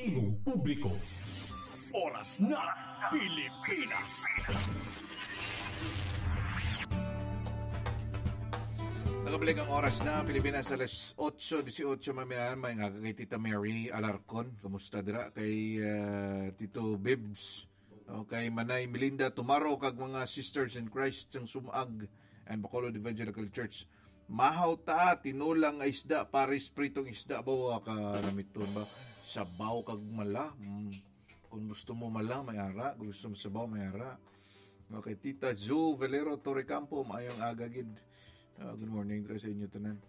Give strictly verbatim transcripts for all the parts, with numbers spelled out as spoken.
Tingog publiko. Oras na, Pilipinas. Nagabalik ang oras na Pilipinas, alas otso dieciocho, mga minahal. Maayong aga kay Tita Mary Alarcon. Kumusta dira kay, ah, Tito Bibs? O kay Manay Melinda Tumaro kag mga sisters in Christ sang Sumag and Bacolod Evangelical Church. Mahaw ta, tinola nga isda, pares pritong isda ba, wa ka namiton ba? Sabaw kag mala. Mm. Kung gusto mo mala, may ara. Kung gusto mo sabaw, may ara. Okay, Tita Zo Valero Torrecampo, maayong aga gid. Ah, good morning dira sa inyo tanan.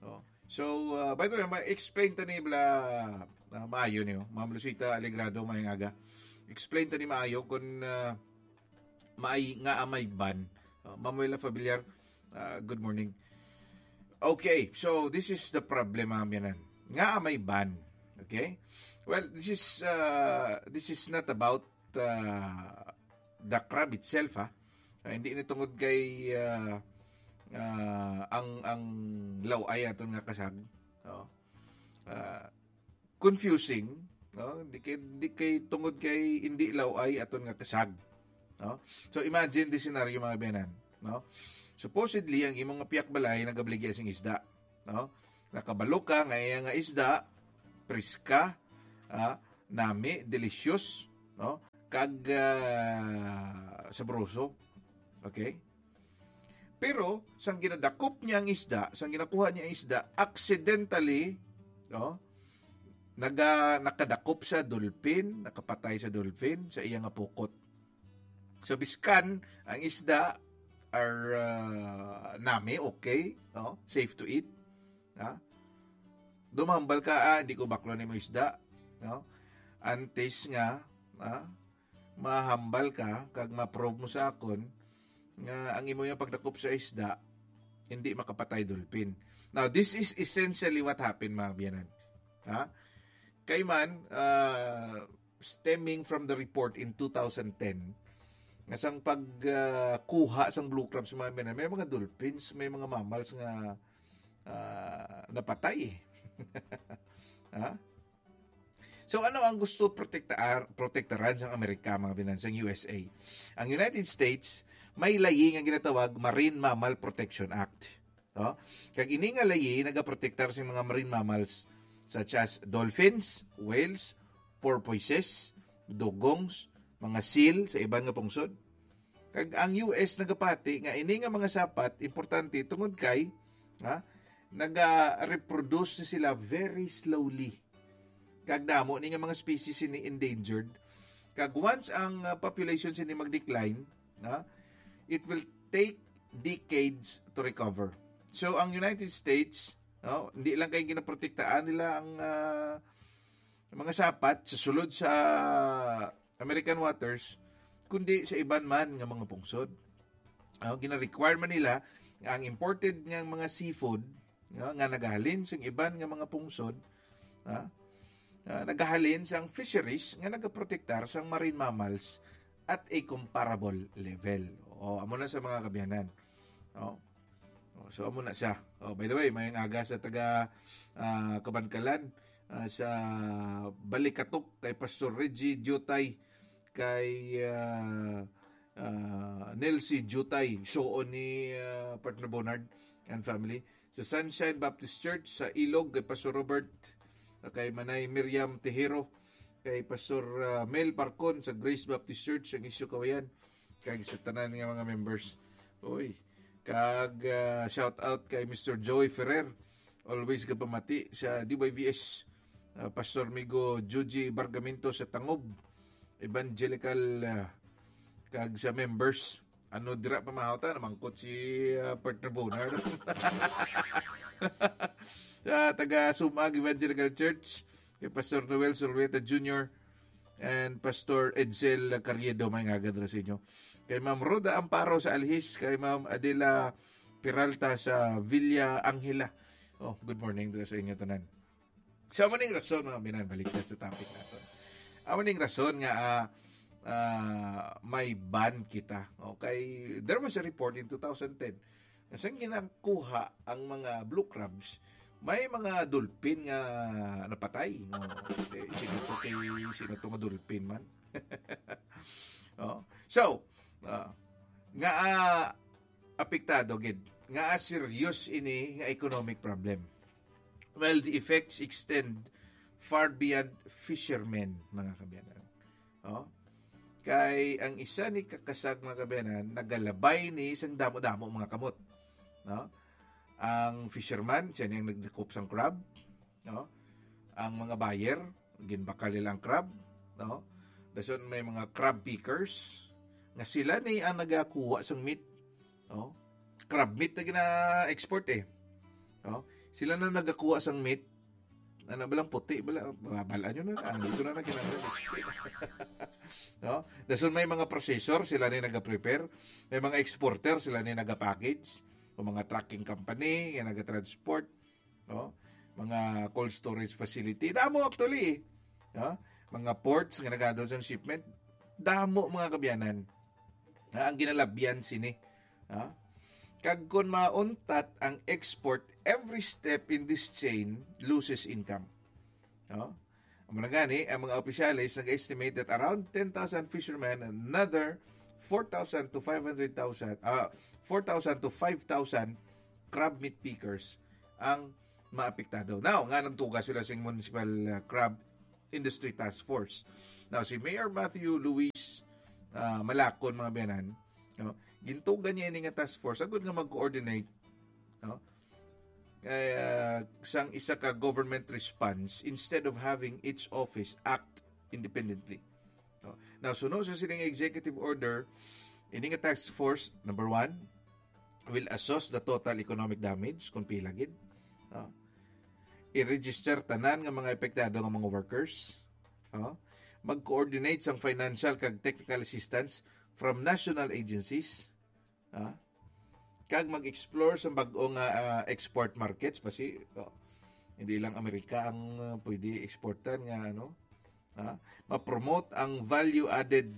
Oh. So, ah, by the way, ma-explain ta ni bla, ah, maayo niyo. Ma'am Lucita Alegrado, maayong aga. Explain ta ni maayo kung, ah, maay nga may ban. Oh, Ma'am Wela Fabiliar, ah, good morning. Okay, so this is the problem, mga biyanan. Nga may ban. Okay? Well, this is, ah, this is not about, ah, the crab itself, ha. Ah, hindi ni tungod kay, ah, ah, ang, ang law-ay aton nga kasag. No? Ah, confusing, no? Di kay, di kay tungod kay hindi law-ay aton nga kasag. No? So imagine the scenario, mga biyanan, no? Supposedly ang imong nga pihak balay nagabaligya sing isda, no? Nakabalo ka nga iya nga isda, preska, ah, nami, delicious, no? Kag, ah, sabroso. Okay? Pero sang ginadakop niya ang isda, sang ginakuha niya ang isda, accidentally, no? Naga, nakadakop sa dolphin, nakapatay sa dolphin sa iya nga pukot. So biskan ang isda are, ah, nami, okay, no? Safe to eat. Ha? Dumambal ka, ah, hindi ko baklo nimo isda, no? Antes nga, ah, mahambal ka kag ma-prove mo sa akon nga ang imo yung pagdakop sa isda hindi makapatay dolphin. Now, this is essentially what happened, mga biyanan. Ha? Kay man, ah, stemming from the report in two thousand ten, nga sang pag, ah, kuha sang blue crab sa mga biyanan, may mga dolphins, may mga mammals nga, ah, napatay. Ha? So, ano ang gusto protektaar-, protektaran sang Amerika, mga biyanan, sang U S A? Ang United States, may layi nga ginatawag Marine Mammal Protection Act. No? Kag ini nga layi nagaprotektar sa mga marine mammals such as dolphins, whales, porpoises, dugongs, mga seal sa iban nga pungsod. Kag ang U S nagapati nga ini nga mga sapat importante tungod kay, ha, naga-reproduce ni sila very slowly. Kag damo ni nga mga species sini endangered. Kag once ang, uh, population sini mag-decline, ha, it will take decades to recover. So ang United States, no, hindi lang kay ginaprotektaan nila ang, uh, mga sapat sa sulod sa American waters, kundi sa iban man nga mga pungsod. Ang gina-require man nila nga ang imported nga mga seafood, nga, nga nagahalin sa iban nga mga pungsod, ha, ah, nagahalin sa fisheries nga nagaprotektar sa marine mammals at a comparable level. O, amo na sa mga kabiyanan. O. O, so, amo na siya. O, by the way, maayong aga sa taga, ah, Kabankalan, ah, sa Balikatok, kay Pastor Reggie Diutay, kay, ah, ah, Nelsie Diutay, suon ni, ah, Partner Bonard and family. Sa Sunshine Baptist Church sa Ilog, kay Pastor Robert, ah, kay Manay Miriam Tejero, kay Pastor, ah, Mel Parcon sa Grace Baptist Church, ang Isyo Kawayan, kag sa tanan nga mga members. Uy, kag, ah, shout out kay Mister Joey Ferrer, always gapamati sa D Y V S, ah, Pastor Migo Juji Bargamento sa Tangob Evangelical, ah, kag sa members. Ano dira pa mahawta, namangkot si, ah, Partner Bonar. Sa taga Sumag Evangelical Church, kay Pastor Noel Zulueta Junior and Pastor Edsel Carriedo, maayong aga dira sa inyo. Kay Ma'am Rhoda Amparo sa Alhis, kay Ma'am Adela Peralta sa Villa Angela. Oh, good morning dira sa inyo tanan. So, amo ning rason, mga binan, balik na sa topic naton. Amo ning rason nga, ah, ah, may ban kita. Okay, there was a report in two thousand ten nga sang ginakuha ang mga blue crabs, May mga dolphin nga napatay. No? Eh, sino to kay, sino to nga dolphin man? Oh. So, ah, nga, ah, apektado gid, nga, ah, serious ini nga economic problem. Well, the effects extend far beyond fishermen, mga kaabyanan. Oh? Kay ang isa ni kakasag, mga kaabyanan, nagalabay ni sang damo-damo mga kamot. No? Ang fisherman, siya ni ang nagdakop sang crab. No? Ang mga buyer, ginbakal nila ang crab. No? Dason may mga crab pickers, nga sila ni ang nagakuha sang meat. No? Crab meat na gina-export eh. No? Sila na nagakuha sang meat. Ano ba lang puti? Bala, babalaan nyo na. Ano, ito na na kinahanglan. No? Dason may mga processor, sila ni naga-prepare. May mga exporter, sila ni naga-package. O mga trucking company, nga naga-transport. No? Mga cold storage facility. Damo actually. No? Mga ports nga nagadol sang shipment. Damo, mga kaabyanan. Ha, ang ginalabyan sini. Ha? Kag kung mauntat ang export, every step in this chain loses income. No? Amo na gani, ang mga opisyales nag-estimate that around ten thousand fishermen and another four thousand to five hundred thousand, ah, four thousand to five thousand crab meat pickers ang maapektado. Now, nga nagtuga sila sa Municipal, ah, Crab Industry Task Force. Now, si Mayor Matthew Luis, ah, Malacon, mga kaabyanan, no, gintugan niya ini nga task force agud nga mag-coordinate, no, kay, ah, sang isa ka government response instead of having each office act independently. No? Now, suno sa sining executive order, ini nga task force, number one, will assess the total economic damage, kung pila gid. No? I-register tanan nga mga apektado nga mga workers. No? Mag-coordinate sang financial kag technical assistance from national agencies. Ha? Kag mag-explore sa bag-o nga, ah, export markets, basi, oh, hindi lang Amerika ang, ah, pwede exportan nga, ano, ha? Ma-promote ang value-added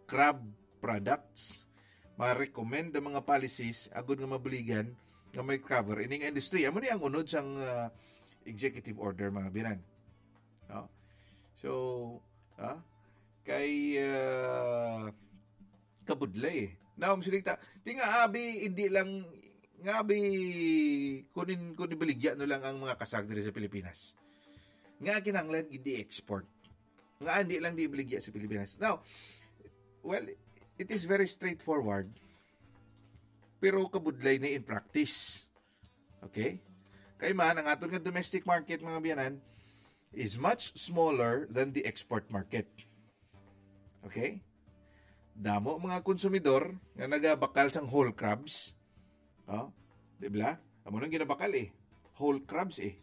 crab products. Ma-recommend ang mga policies agud nga mabuligan nga may cover ining industry. Amo ni ang unod sang, ah, executive order, mga kaabyanan. No? So, ha? Kay, ah, kabudlay eh. Now, masilita, ti nga abi, hindi lang, nga abi, kunin, kunin baligya no lang ang mga kasag diri sa Pilipinas. Nga kinahanglan, hindi export. Nga hindi lang di baligya sa Pilipinas. Now, well, it is very straightforward. Pero kabudlay na in practice. Okay? Kay man, ang aton nga domestic market, mga kaabyanan, is much smaller than the export market. Okay? Damo mga konsumidor nga nagabakal sang whole crabs. Oh, di ba? Amo nang ginabakal eh. Whole crabs eh.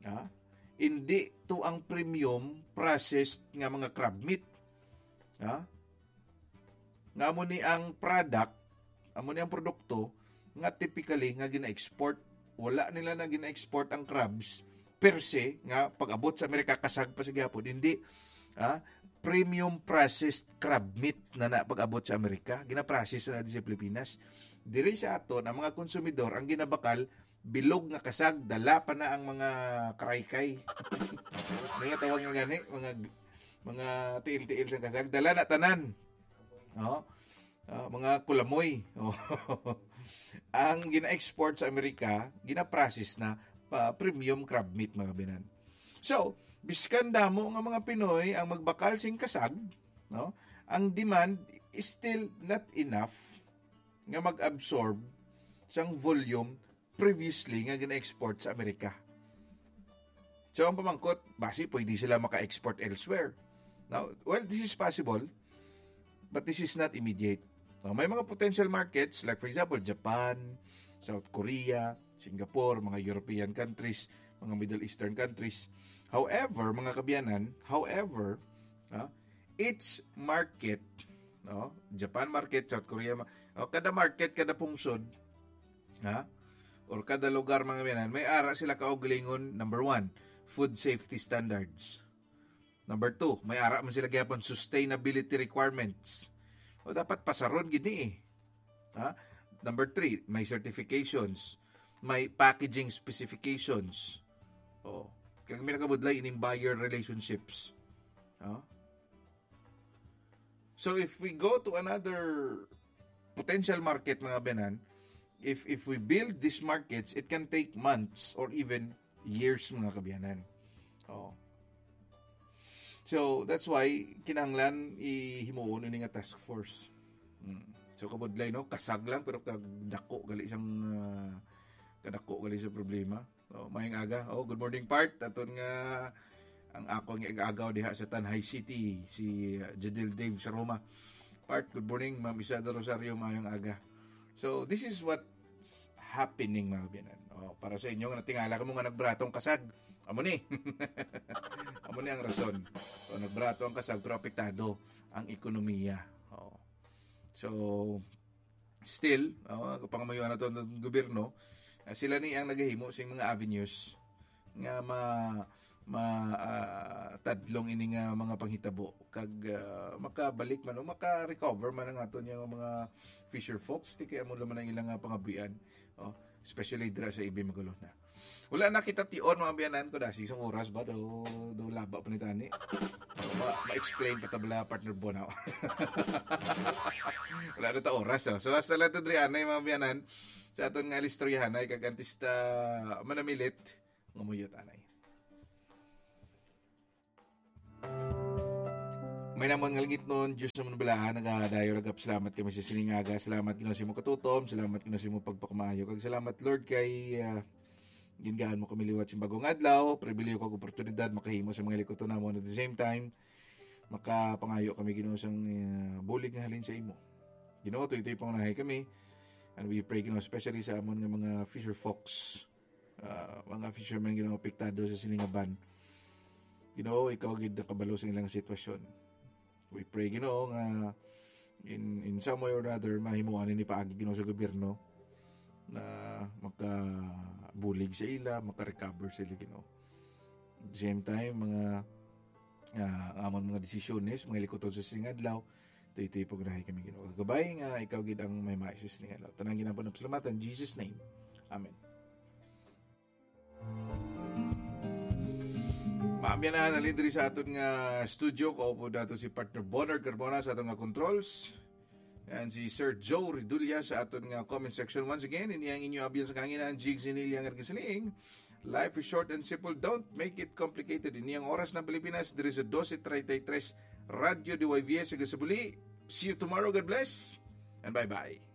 Ha? Hindi to ang premium processed nga mga crab meat. Ha? Nga amo ni ang product, amo ni ang produkto nga typically nga gina-export. Wala nila na gina-export ang crabs per se nga pag-abot sa Amerika kasag pa sa gihapon. Hindi, ah, premium processed crab meat na na pag-abot sa Amerika. Gina-process na di sa Pilipinas. Diri sa aton, ang mga konsumidor, ang ginabakal, bilog nga kasag, dala pa na ang mga karaykay. Mga tawag nga gani, mga, mga tiil-tiil sa kasag, dala na tanan. Oh. Ah, mga kulamoy. Oh. Ang gina-export sa Amerika, gina-process na pa premium crab meat, mga kaabyanan. So, biskan damo nga mga Pinoy ang magbakal sing kasag, no? Ang demand is still not enough nga mag-absorb sang volume previously nga gina-export sa Amerika. So, ang pamangkot, basi pwede sila maka-export elsewhere. Now, well, this is possible, but this is not immediate. Now, may mga potential markets, like for example, Japan, South Korea, Singapore, mga European countries, mga Middle Eastern countries. However, mga kaabyanan, however, ah, each market, no, Japan market, South Korea, ma-, oh, kada market, kada pungsod, ha? Or kada lugar, mga kaabyanan, may ara sila kaugalingon, number one, food safety standards. Number two, may ara man sila gyapon sustainability requirements. O dapat pasaron gid ni eh. Ha? Number three, may certifications. may packaging specifications. Oh, kag may nakabudlay ining buyer relationships. Oh. So if we go to another potential market, mga biyanan, if if we build these markets, it can take months or even years, mga kabiyanan. Oh. So that's why kinahanglan ihimuon ini nga task force. Mm. So kabudlay, no, kasag lang pero kag dako gali sang, ah, kadako gali sa problema. Oh, mayong aga. Oh, good morning, Part. Aton nga ang akong ig-agaw diha sa Tanjay City, si, uh, Jadil Dave sa Roma. Part, good morning. Ma'am Isadora Rosario, mayong aga. So, this is what's happening, mga kabiyanan. Oh, para sa inyo nga natingala kamo nga nagbaratong kasag, amo ni. Amo ni ang rason. So, nagbaratong kasag pero apektado ang ekonomiya. Oh. So, still, oh, pangamuyoan nato ang gobyerno, ah, sila ni ang nagahimo sing mga avenues nga ma, ma, ah, tadlong ini nga mga panghitabo kag, ah, makabalik man o maka-recover man ang aton nga mga fisher folks, ti kay amo naman ang ilang, ah, pangabuhian, oh, especially dira sa Ibim Magulona. Wala na kita tion, mga biyanan ko, dasi isang oras ba? Do, do laba pa ni tani. Ma, ma-explain pa tabla, partner Bonaw. Wala na ta oras, oh. So, hasta lang to, Drianay, mga biyanan. Sa aton nga istoryahanay, kag artista manamilit, nga muyot, anay. May namon nga langitnon, Diyos naman bala, nagadayo lagap. Salamat kami sa sining aga. Salamat, Ginoo, sa imong katutom. Salamat, Ginoo, sa imong pagpakamaayo. Kag salamat, Lord, kay, ah, gingaan mo kami liwat sa bagong adlaw. Pribilehiyo kag oportunidad makahimo sa mga likuton namon. At the same time, makapangayo kami, Ginoo, sang, ah, bulig nga halin sa imo. Ginoo, tuytoy pangunahay kami. And we pray, Ginoo, especially sa amon nga mga fisher folks, ah, mga fishermen, Ginoo, apektado sa sini nga ban. Ginoo, ikaw gid nakabalo sa ilang sitwasyon. We pray, Ginoo, nga in, in some way or another, mahimuan ini paagi, Ginoo, sa gobyerno na makabulig sa ila, makarecover sa ila, Ginoo. At the same time, mga, ah, ang amon mga desisyones, mga likuton sa sining adlaw, tuytoy pangunahay kami, Ginoo. Kagabay nga ikaw gid ang may maayos sa sining adlaw. Tanan ginapon ang pasalamatan, in Jesus' name. Amen. Maabyan na, nalin diri sa aton nga studio, kaupo nato si partner Bonard Carbona sa aton nga controls. And si Sir Joe Redulla sa aton nga comment section. Once again, ini ang inyo abyan sa kanginan, Jigs Inilia nga nagasiling, "Life is short and simple. Don't make it complicated." Ini ang Oras ng Pilipinas, diri sa dose treinta y tres, Radyo D Y V S, hanggang sa muli. See you tomorrow. God bless and bye-bye.